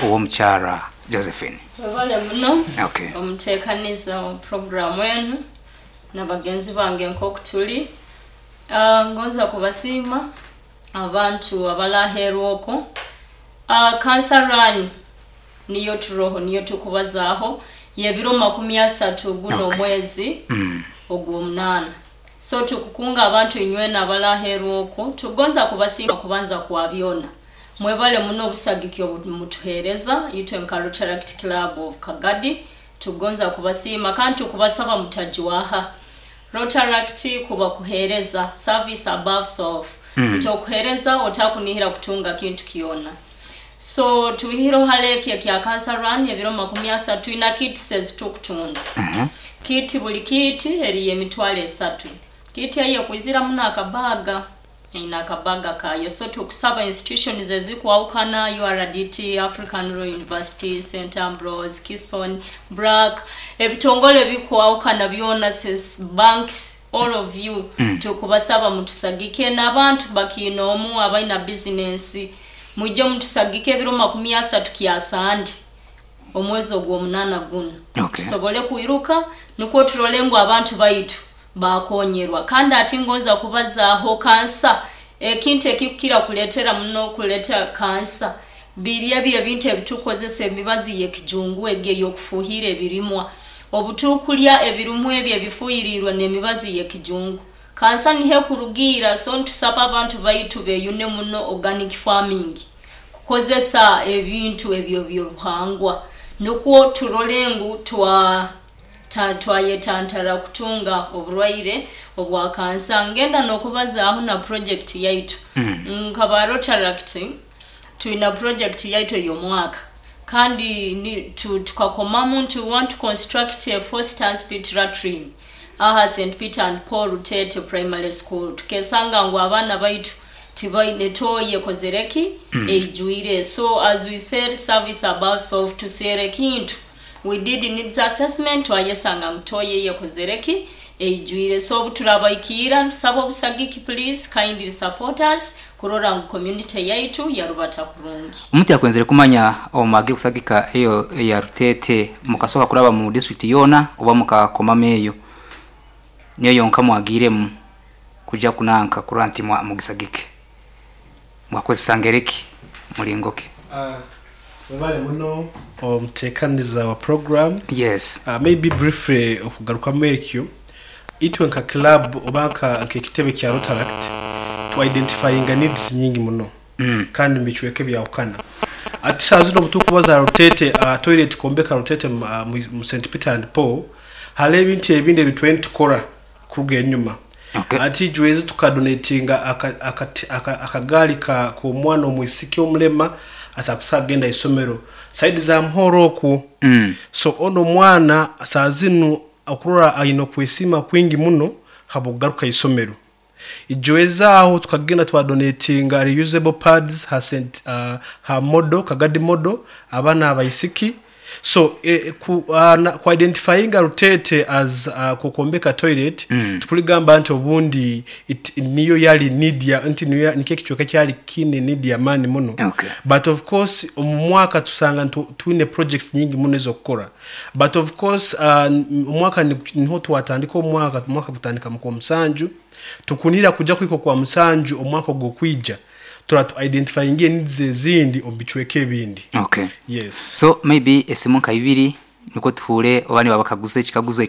Ow'omukyara Josephine. Webale muno. Okay. Omuteekaniza wa puroguramu enu na bagenzi bange nk'oku tuli. Ngonza kubasiima abantu abalaheerwa okwo. Cancer Run niyo turoho, niyo tukubazaaho, y'ebiro 30 guno omwezi ogw'omunaana. So tukukunga abantu inywena abalaheerwa okwo, tugonza kubasiima kubanza kwa byona. Mwebale muno obusagiki obu mutuheereza itwe nka Rotaract Club of Kagadi. Tugonza kubasiima kandi tukubasaba mutajwaha. Rotaract kuba kuheereza, service above self. Nti okuheereza otakunihira kutunga kintu kyona. So tuhiro hali eki ekya Cancer Run ebiro 30, twina kits ezitukutunda. Kit, buli kit eri 30,000. Kit eyo ekwiziramu n'akabaga, ina akabaga kayo. So tukusaba institutions ezikwawukana, URDT, African Royal University, St Ambrose, Kison, BRAC, ebitongole bikwawukana byona, banks, all of you, tukubasaba mutusagike, n'abantu bakiina omu abaina bizinensi, mwijje mutusagike ebiro 30 kyasandi omwezi ogw'omunaana guno. Tusobole kwiruka nukwo turole ngu abantu baitu bakonyerwa. Kandi ati ngonza kubazaaho kansa. Ekintu ekikukira kuleetera muno kuleeta kansa biri ebyo ebintu ebitukozesa, emibazi y'ekijungu egi ey'okufuuhira ebirimwa. Obutukulya ebirimwa ebyo ebifuhirirwe n'emibazi y'ekijungu, kansa niho ekurugiira. So ntusaba abantu baitu beyune muno organic farming, kukozesa ebintu ebyo byobuhangwa, nukwo turole ngu twayetantara kutunga oburwaire obwa kansa. Ngenda n'okubazaaho na project yaitu. Nkaba Rotaract twina project yaitu ey'omwaka, kandi tukakomamu nti we want to construct a foster pit latrine aha St Peter and Paul Rutete Primary School. Tukesanga ngu abaana baitu tibaine toilet ekozereki, eijwire. So as we said, service above self, tuseere ekintu. We did needs assessment, twayesanga ngu toilet yekozereki, eijwire. So obu turabaikiira ntusaba obusagiki, please kindly support us kurora ngu community yaitu yarubata kurungi. Omuntu yakwenzere kumanya, omwage kusagika eyo eya Rutete, mukasoka kuraba mu district yona oba mukakomamu eyo niyo yonka mwagiremu kuja kunanka kurora nti mugisagike, mwakozesa ngereki, mulingo ki? Webale muno omuteekaniza wa program. Yes. Maybe briefly okugarukamu ekyo, itwe nka club oba nk'ekitebe kya Rotaract twa-identifyinga needs nyingi muno kandi mubicweka ebyahukana. Ati saaha zino obu tukubaza Rutete, toilet kwombeka Rutete mu St Peter and Paul, hariho ebintu ebindi ebi twine tukora kuruga enyuma. Ati jwezi tukadonatinga akagaali k'omwana omwisiki omulema atakusobola kugenda isomero side za Muhoro okwo. So onu omwana saaha zinu okurora aine okwesiima kwingi muno habw'okugaruka isomero. Ijwezi aho tukagenda twadonatinga reusable pads ha St ha Model, Kagadi Model, abaana abaisiki. So ku identifyinga Rutete as kwombeka toilet, tukuligamba nti obundi niyo yali need ya nti niyo nikyo ekicweka ekyali kiine need y'amaani muno. But of course omu mwaka tusanga twine projects nyingi muno ez'okukora. But of course omwaka niho twatandika omwaka, omwaka gutandika mu Kwomusanju, tukunihira kuja kuhika okwa musanju omwaka ogw'okwija tura tu identifyinga needs ezindi omu bicweka ebindi. Yes. So maybe esimu nka ibiri niko tuhure oba niba bakaguza ekikaguzo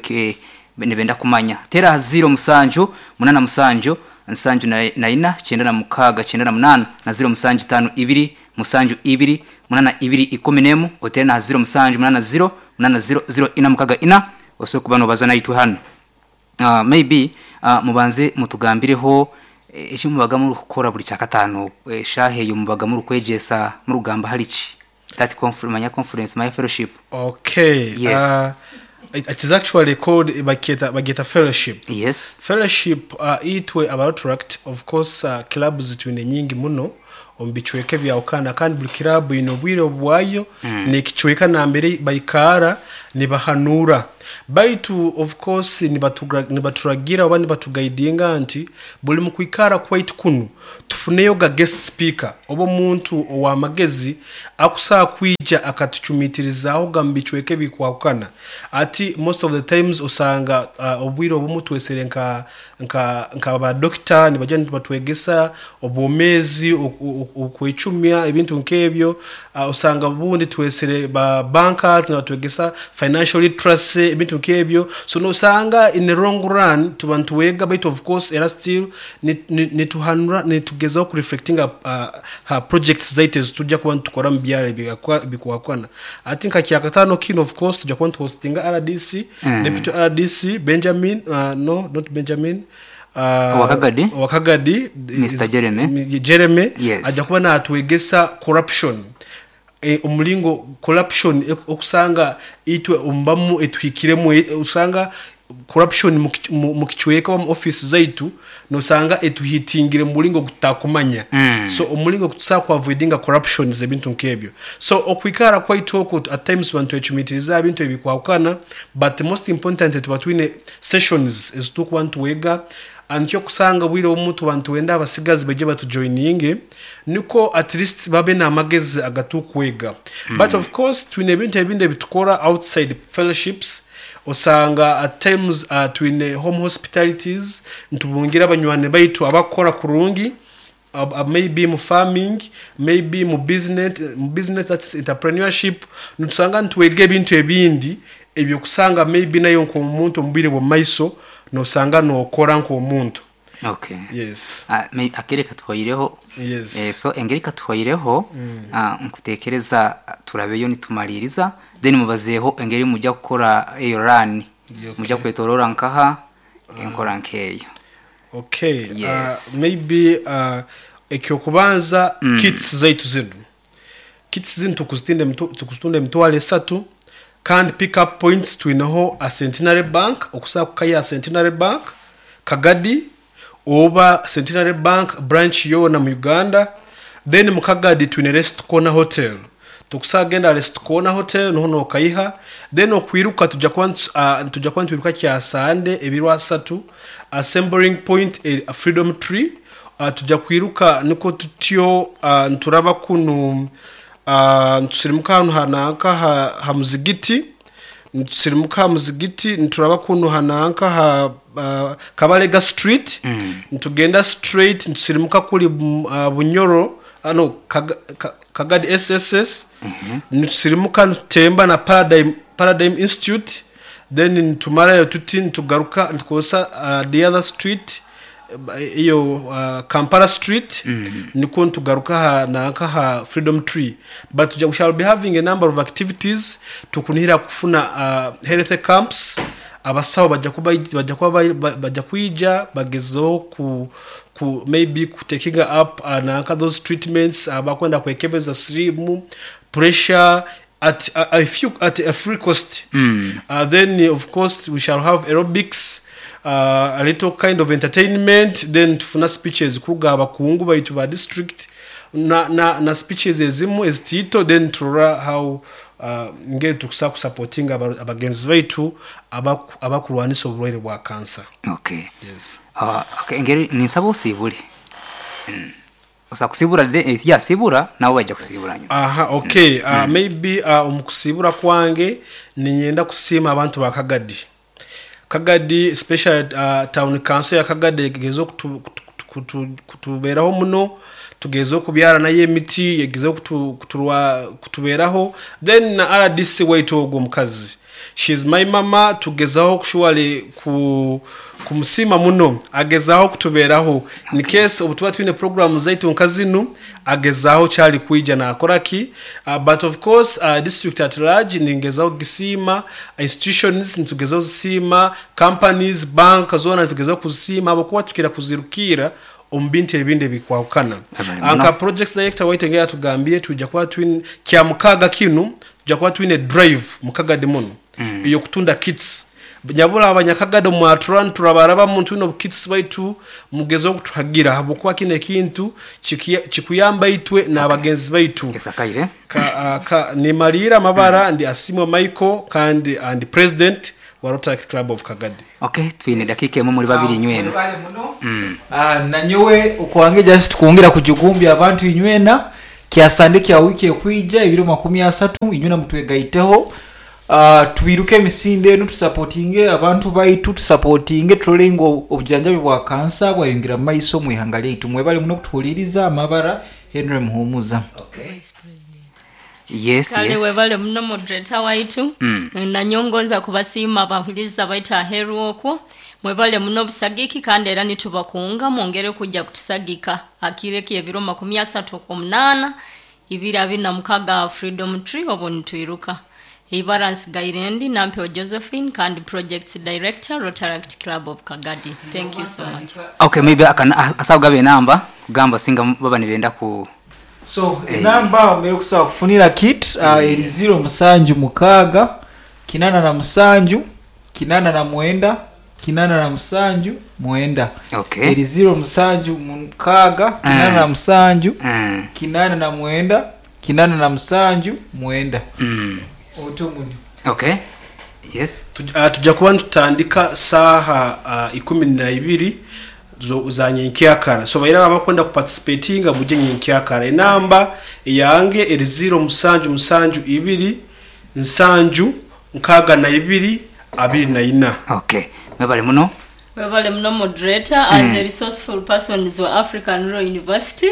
nibenda kumanya. Tera 07 87 74 96 98 na 07 52 72 82 11, otere na 07 80 80 0 ina mukaga ina, osobola kuba nobaza naitwe hano. Maybe mubanze mutugambireho eki mubaga murikukora buri kyakataano, eshaaha eyo mubaga murikwegyesa, murikugamba hari ki, that conference, manya conference, manya fellowship. Okay. Yes. It is actually called, bagyeta fellowship. Fellowship, itwe aba Rotaract, of course clubs twine nyingi muno omu bicweka ebyahukana, kandi buli club eine obwire bwayo n'ekicweka nambere baikara nibahanuura. Baitu of course nibaturagira oba nibatugaidinga nti buli mukwikara kwaitu kunu tufuneyo ga guest speaker oba omuntu ow'amagezi akusobola kwija akatucumiitirizaahoga mu bicweka ebikwahukana. Ati most of the times osanga obwire obumu twesere nka nka nka ba dokita nibaija nibatwegesa obwomeezi, okwecumya ebintu nk'ebyo. Osanga obundi twesere ba bankers nibatwegesa financial literacy ebintu nk'ebyo. So nosanga in the long run tuba nitwega baitu of course era still nituhanura nitugezaho ku reflectinga ha projects zaitu ezitujja kuba nitukora omu byaro ebikwahukana. Hati nka kyakataano kinu of course tujja kuba nituhostinga RDC, Deputy RDC Benjamin, no not Benjamin, Owa Kagadi? Owa Kagadi, Mr. Jeremy. Jeremy Yes. ajja kuba natwegesa corruption. Omulingo corruption okusanga itwe omubamu etuhikiremu, osanga corruption mu kicweka oba mu office zaitu nosanga etuhitingire mu mulingo ogututakumanya. So omulingo ogutusobola ku avoidinga corruptions ebintu nk'ebyo. So okwikara kwaitu oku at times tuba nitwecumitiriza aha bintu ebikwahukana, but most important tuba twine sessions ezitukuba nitwega. Nikyo okusanga obwire obumu tuba nitwenda abasigazi baije batujoininge niko at least babe n'amagezi agatukwega. But of course twine ebintu ebindi ebitukora outside fellowships, osanga at times twine home hospitalities, nitubungira abanywani baitu abakukora kurungi, maybe mu farming, maybe mu business, mu business that's entrepreneurship, nitusanga nitwega ebintu ebindi ebyokusanga maybe nayo nk'omuntu omu bwire bw'omu maiso nosanga nokora nk'omuntu. Okay. Yes. Akere katuhwaireho. Yes. So engeri katuhwaireho, nkutekereza turabeyo nitumaliriza, then mubazeeho engeri mujja kukora eyo run. Mujja kwetorora nkaha enkora nkeyo. Okay. Yes. Maybe ekyokubanza, kits zaitu zinu. Kits zinu tukuzitunda 30,000, kandi pick up points twineho a Centenary Bank, okusobola kukaiha Centenary Bank Kagadi oba Centenary Bank branch yoona mu Uganda. Then mu Kagadi twine Rest Corner Hotel. Tokusobola kugenda Rest Corner Hotel niho nokaiha. Then okwiruka tujja kuba nitwiruka kya Sande ebiro asatu, assembling point Freedom Tree. Tujja kwiruka nikwo tutyo, nituraba kunu, nitusirimuka hanu hananka ha muzigiti, nitusirimuka ha muzigiti nituraba kunu hananka ha Kabalega Street, nitugenda straight nitusirimuka kuri Bunyoro, no, Kagadi SSS, nitusirimuka nitutemba na Paradigm Institute, then nitumarayo tuti nitugaruka nitukozesa the other street, iyo Kampala Street, nikwo nitugaruka ha nanka ha Freedom Tree. But we shall be having a number of activities. Tukunihira kufuna health camps, abasawo bajja kwija bagezeho ku maybe ku taking up nanka those treatments, abakwenda kwekebeza sirimu, pressure at a free cost. Then of course we shall have aerobics, a little kind of entertainment, then tufuna speeches kuruga abakungu baitu ba district na speeches ezimu ezitiito, then turora how ngeri tukusobola kusupportinga abagenzi baitu abakurwanisa oburwaire bwa kansa. Okay. Yes. Okay, engeri ninsaba osiibule. Osa kusibura ya sibura nabo bajja kusibura nyuma. Aha, okay. Maybe omu kusibura kwange ninyenda kusiima abantu ba Kagadi. Kagadi especially town council ya Kagadi egezeho kutuberaho muno, tugezeho kubyara nayo emiti, egezeho kutuberaho. Then na RDC waitu ogwo omukazi, she is my mama, tugezaho kushuwale kumusiima muno, agezaho kutuberaho. In case obu tuba twine program zaitu nka zinu, agezaho kyali kwija nakora ki. But of course district at large ningezaho kugisiima, institutions nitugezaho kuzisiima, companies, bank zoona nitugezaho kuzisiima habwokuba tukira kuzirukira omu bintu ebindi ebikwahukana. Abali muno. Nka projects director waitu engeri atugambire, twija kuba twine kya mukaaga kinu, tujja kuba twine drive mu Kagadi muno ey'okutunda kits. Nyabura abanyakagadi mwatura niturabaraba twine obukits baitu mugezeho kutuhagira habwokuba kino ekintu kikuyamba itwe n'abagenzi baitu. Esakaire. Nimaliira amabara, ndi Asimwe Michael kandi ndi president wa Rotaract Club of Kagadi. Okay, twine dakika emwe muri babiri inywena. Mwebale muno. Nanyowe okwange just kwongera kujugumbya abantu inywena kyasande kya wiki ekwija ebiro 30 inywena mutwegaiteho. Tubiruke emisinde enu, tusapotinge abantu baitu, tusapotinge turole ngu obujanjabi bwa kansa bwayongera mu maiso mu ihanga lyaitu. Mwebale muno kutuhuliriza. Amabara Henry Muhumuza. Yes, Kale yes. webale muno moderator waitu. Nanyongoza kubasiima abahuliza baitu aheru okwo. Mwebale muno busagiki kandi era nitubakunga mwongere kujja kutusagika akireki ebiro 38 2026 Freedom Tree obo nitwiruka. Ibara nsigairendi Nampeo Josephine kandi Projects Director, Rotaract Club of Kagadi. Thank you so much. Okay, maybe akana asabu gabe namba kugamba singa baba nibenda ku. So enamba omere kusaba kufunira kit eri 076 87 89 87 9. Okay. Eri 076 87 89 87 9. Otomuni. Okay. Yes. Tujja kuba nitutandika saaha 12 za nyenkyakara. So baira abakwenda kuparticipatinga muje nyenkyakara. Enamba yange eri 0772 7 62 24. Okay. Mwebale muno. Webale muno moderator. As a resourceful person wa African Rural University,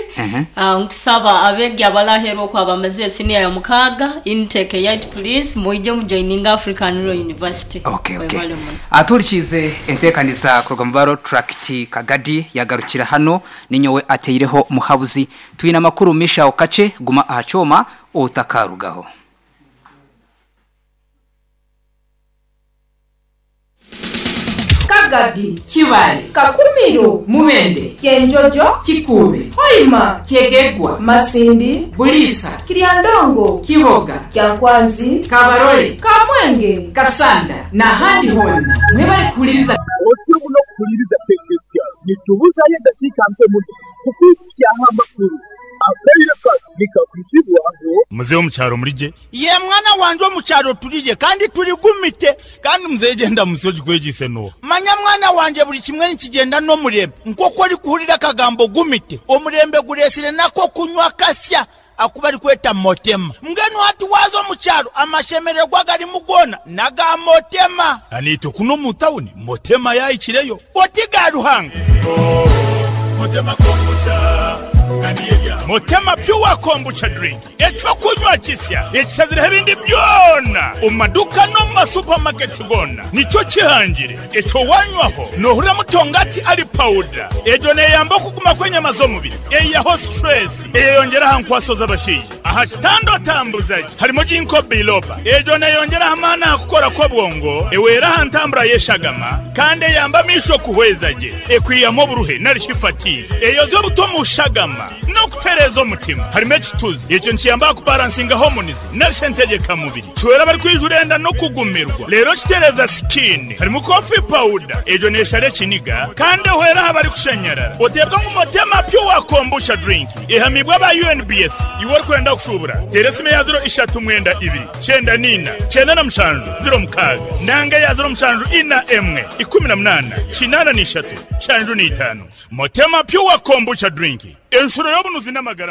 nkusaba abegi abalaherwa okwo abamaze senior ya 6 intake yait, please muije mujoininga African Rural University. Okay, okay. Webale muno. Aturikize entekanisa kuruga mu baro tract Kagadi yagarukira hano ninyowe ateireho muhabuzi. Twina makuru misha okache guma ahachoma otakarugaho. Kagadi, Kibale, Kakumiro, Mubende, Kyenjojo, Kikube, Hoima, Kyegegwa, Masindi, Bulisa, Kiryandongo, Kiboga, Kyankwanzi, Kabarole, Kamwenge, Kasanda n'ahandi honna mwebale kuwuliriza. Otyo muno kuwuliriza tekinisiya nitubuzayo eddakiika mpe muno kukwikyaho amakulu akaire kano nikakwitibwaho. Muzehe omukyaro murije. Ye mwana wanje omukyaro turije kandi turigumite kandi muzehe genda musoji kwegise no. Manya mwana wanje buli kimwe nikigenda n'omurembe nk'oku orikuhurira akagambo gumite omurembe guresire nako kunywa kasya akuba ari kweta motema mbwenu hati waza omukyaro amashemererwa garimu gona naga motema. Anito kuno mu tawuni motema yayikireyo oti ga Ruhanga. Motema kombucha Motema pure kombucha drink ekyo kunywa kisya ekishazireho ebindi byona omu maduka no mu masupamaketi gona nikyo kihangire ekyo wanywaho nohurira mutongati ari powder egyo neyamba okuguma kw'enyama z'omubiri eyaho stress eyeyongera aha nkwaso z'abashaija aha kitanda otambuzaje harimo ginkgo biloba egyo neyongera amaani aha kukora kw'obwongo ewera aha ntambura y'eshagama kandi eyamba amisho kuhweza gye ekwiyamu oburuhe narishi fatigue eyoza obuto mu shagama no kutereza omutima harimo ekituzi ekyo nikiyamba kubalansinga hormones narishe entegekamubiri kiwera bari kwijurenda no kugumirwa rero kitereza skin harimo coffee powder egyo neshara ekiniga kandi ehwera aha bari kushanyarara otebwa ngu Motema pure kombucha drink ehamibwa aba UNBS iwe orikwenda kushubura tera esimu ya 039 2 94 97 06 nanga ya 07 41 18 83 75 Motema pure kombucha drink enshuro y'obunuzi n'amagara.